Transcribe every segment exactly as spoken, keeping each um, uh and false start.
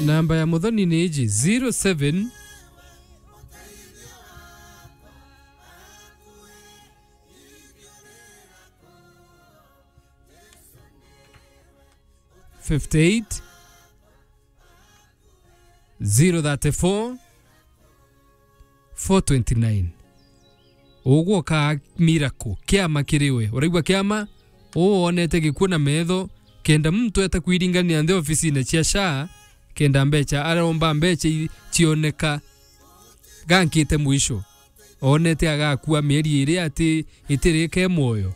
Namba ya Muthoni ni iji, zero seven fifty eight, zero thirty four, four twenty nine. Ugwe ukaa miracle, kiama kiri we. Uraigua kiama? Uu wonete gikuo na metho, kenda muntu eta kwiringania nthi ofisine cia SHA, kenda mbecha, aromba mbecha i-, cioneka. Gankite mwisho. Onete agakua mieri iri ati itirike mwoyo.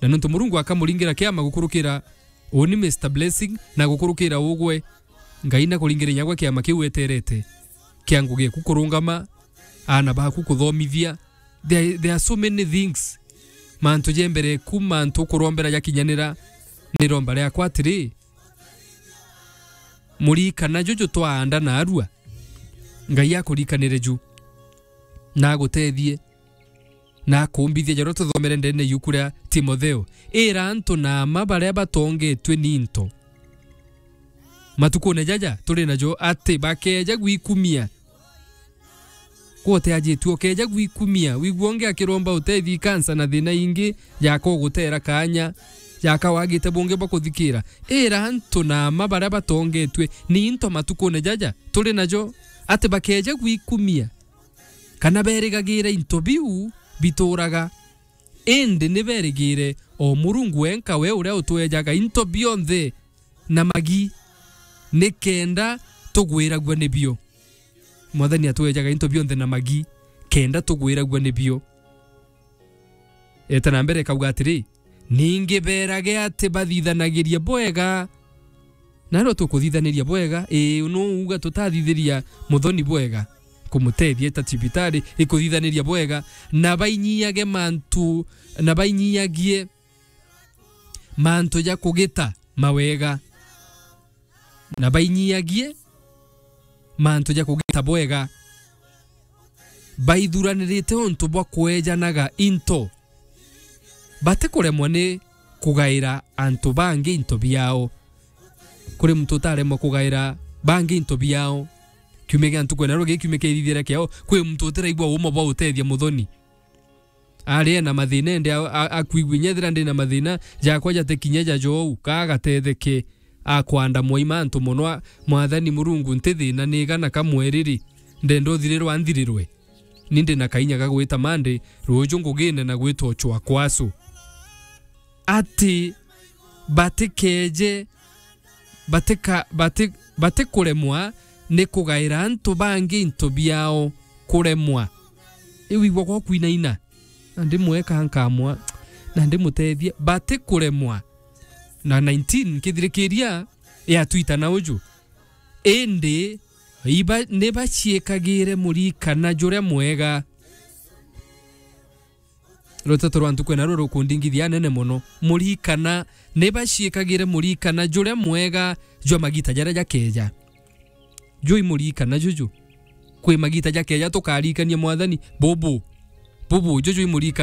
Na nontu Murungu akamuringira kiama gukurukira uni Mister Blessing na gukurukira ugwe, Ngai na kuringira inya gwe kiama kiu weterete kia ngugi eku kurungama, aana baku kuthomithia. There, there are so many things. Mantu ja mbere ku, mantu ukurombera jakinyanira, ni iromba riakwa atiri, murikana juju twaanda naarua, Ngai akurikanire ju, na agutethie, na akumbithia jaria tuthomere ndene yuku ria Timotheo. Ira antu na ama baria batongetue ni into matukune jaja turi najo ati bakeeja gwikumia. Gwe utiajitue ukeeja gwikumia, wigua ungi akiromba utethi kansa na thina ingi, jaka ugutera kaanya, jaka wagite bungi bwa kuthikira. Ira antu na ama baria batongetue ni into matukune jaja turi najo, ati bakeeja gwikumia, kana berigagire into biu bituraga, indi ni berigire o Murungu wenka, we uria utwejaga into bionthe na magi, nikenda tugwiragua nibio. Mwathani atwejaga into bionthe na magi, kenda tugwiragua nibio. Eta na mbere ikauga atiri, ningi berage ati bathithanagirie bwega. Na rio tukuthithaniria bwega, ii, nu uga tutathithiria Muthoni bwega, kumutethia eta cibitari, ikuthithaniria bwega, na bainyiage mantu, na bainyiagie mantu ja kugita mawega, na bainyiagie mantu ja kugita bwega, baithuranirite untu bwa kwejanaga into, batikuremwa ni kugaira antu bangi into biao. Kuri muntu utaremwa kugaira bangi into biao. Kiumia gia ntuku ena rugi, kiumia kia ithithira kiao, kwi muntu utiraigua uuma bwa utethia Muthoni. Ari ena mathina, ende a-, a-, akwigua inya ethira ndi na mathina jakwa jate kinya ja jou, ka agatetheke. Akwanda mwaima antu mono, a-, Mwathani Murungu, nti thina nigana kamwe riri, ndenda uthirirwa nthirirwe. Ni ndi na kainya ga gwita Monday, ruuju ngugine na gwita Ochwa Kwasu. Ati batikeeje, batika-, bati-, batikuremwa ni kugaira antu bangi into biao, kuremwa. Iu igwa gwa kwinaina. Na ndimweka nkamwa, na ndimutethia, batikuremwa. Na nineteen, kithirikiria, yatwita na uju. Indi iba-, nibaciikagire murikana juria mwega. Ruteto rwa ntuku ena ruru rukundingithia anene mono. Murikana, nibaciikagire murikana juria mwega jwa magita jaria jakeeja. Jui murikana juju. Kwi magita jakeeja tukarikania Mwathani, bubu. Bubu, juju i murikana.